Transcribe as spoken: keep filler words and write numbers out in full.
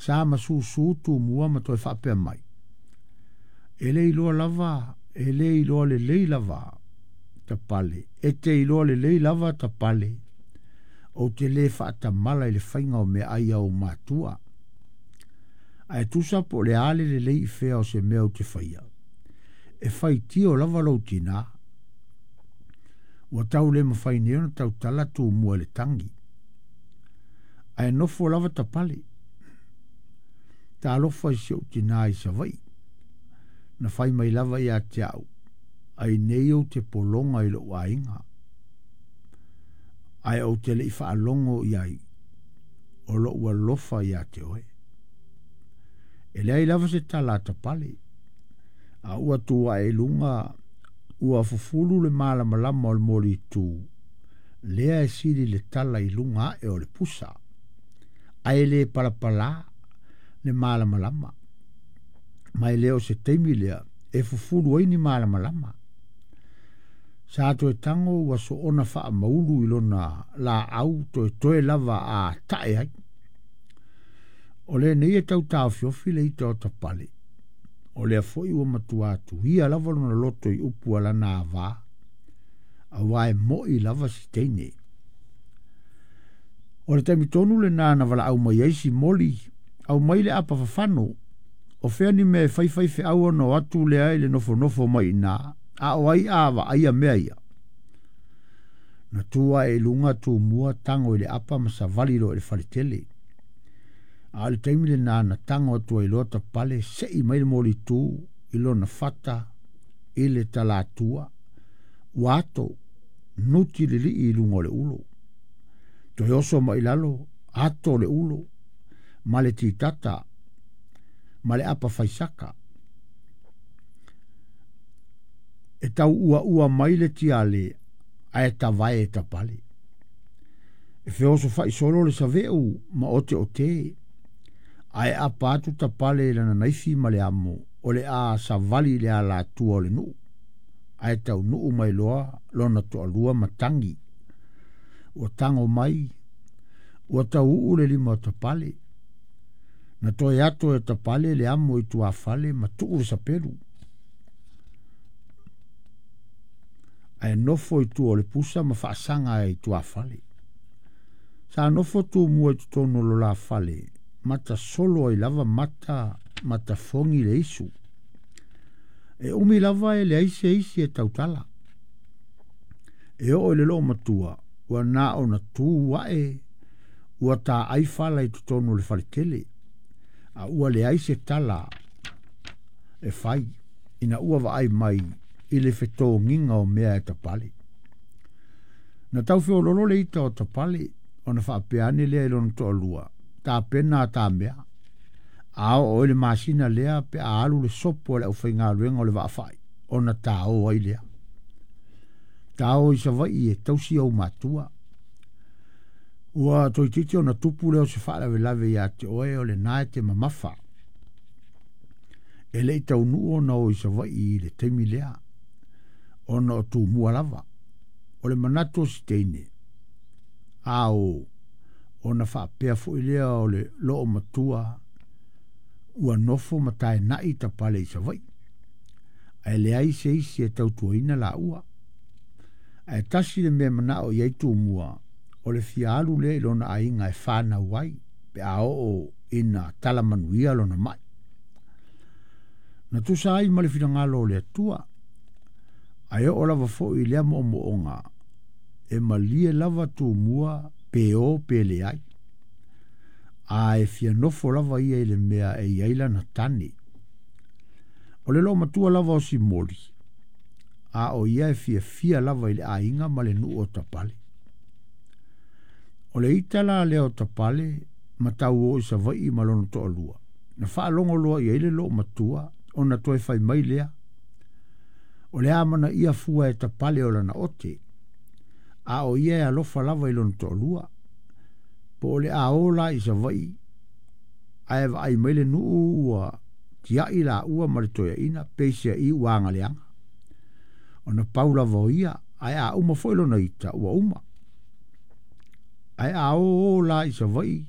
Sa masusu Tumua ma toe faapea mai. E le iloa lava, e le iloa lelei lava Tapale, e te iloa lelei lava Tapale, ou te le faatamala i le faiga o meaai a ou matua. Ae tusa po o le a le lelei i fea o se mea ou te faia, e faitio lava lou tinā. Ua tau le mafai nei ona tautala Tumua i le tagi. Ae nofo lava Tapale. Talofa i si ou tinā i Savaii. Na fai mai lava ia te au, ai nei ou te pologa i lou aiga. Ae ou te le i faalogo i ai, o lou alofa ia te oe. E leai lava se tala a Tapale. A ua tu ae i luga, ua fufulu le malamalama o le molitu, lea e sili le tala i luga ae o le pusa. Ae le palapala le malamalama. Ma e le o se taimi lea e fufulu ai ni malamalama. Sa toe tago ua soona faamaulu i lona laau toe toe lava a tae ai. O lenei e tau taofiofi le ita o Tapale. O lea foi ua matua atuia lava lona loto i upu a lana avā, auā e mo'i lava si teine. O le taimi tonu lenā na valaau mai ai Simoli, au mai le apa fafano, o fea ni mea e faifaifeau ona o atu lea i le nofonofo mai i ina, a o ai a vaaia mea ia. Na tu ae i luga Tumua tago i le apa ma savali loa i le faletele. A o le taimi lenā na tago atu ai loa Tapale sei mai le molitu i lona fata i le talatua, ua ato nuti lilii i luga o le ulo. Toe oso mai lalo, ato le ulo, ma le titata, ma le apa faisaka. E tau ua ua mai le tiale, ae tavae e Tapale. E feoso faisolo le saveu ma ote o te, ae apa atu Tapale i lana naifi ma le amo, o le a savali le alatua o le nuu. Ae tau nuu mai loa lona toalua ma tagi. Ua tago mai, ua tau uu le lima o Tapale. Na toe ato e Tapale le amo i tuafale ma tuu le sapelu. Ae nofo i tua o le pusa ma faasaga ai i tuafale. Sa nofo Tumua i totonu o lo la fale, mata solo ai lava mata matafogi le isu. E umi lava e leai se isi e tautala. E oo i le loomatua, ua na ona tu ae, ua taai fala i totonu o le faletele. A ua leai se tala e fai, ina ua vaai mai i le fetogiga o mea e Tapale. Na tau feololo le ita o Tapale, ona faapea ane lea i lona toalua, tapena a ta mea. A oo i le masina lea pe a alu le sopo a le aufaigaluega o le vaafai, ona taō ai lea. Taō i Savaii e tausi ou matua. Ua toeitiiti ona tupu lea o se faalavelave ia te oe o lenā e te mamafa. E le i taunuu ona o i Savaii i le taimi lea, ona o Tumua lava. O le manatu o si teine, a o ona faapea foi lea o le loomatua ua nofo ma taenai Tapale i Savaii. Ae leai se isi e tautuaina laua. Ae tasi le mea manao i ai Tumua, o le fia alu lea i lona aiga e fanau ai, pe a oo ina tala manuia lona mai. Na tusa ai ma le finagalo o le Atua, ae oo lava foi i lea moomooga, e malie lava Tumua pe o pe leai. A e fia nofo lava ia i le mea e i ai lana tane. O le loomatua lava o Simoli, a o ia e fiafia lava i le aiga ma le nuu o Tapale. O le ita la lea o Tapale ma tau o i Savaii ma lona toalua. Na faalogo loa i ai le loomatua ona toe fai mai lea. O le amana ia fua e Tapale o lana ote, a o ia e alofa lava i lona toalua. Po o le a o la i Savaii, ae vaai mai le nuu ua tiai laua ma le toeaina, peiseai ua agaleaga. Ona pau lava o ia, ae a uma foi lona ita, ua uma. Ae a o o la i Savaii,